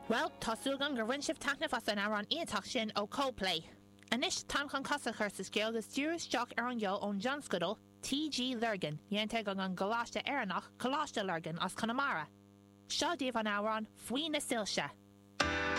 Bhuel, tá súil agam gur bhain sibh taitneamh as an amhrán iontach sin ó Coldplay. Anois, táim chun cosa a chur sa scéal agus díriú isteach ar an gceol ón dtionscadal TG Lurgan, déanta ag an gcoláiste Éireannach, Coláiste Lurgan as Conamara. Seo daoibh an amhrán 'Faoi na Soilse'.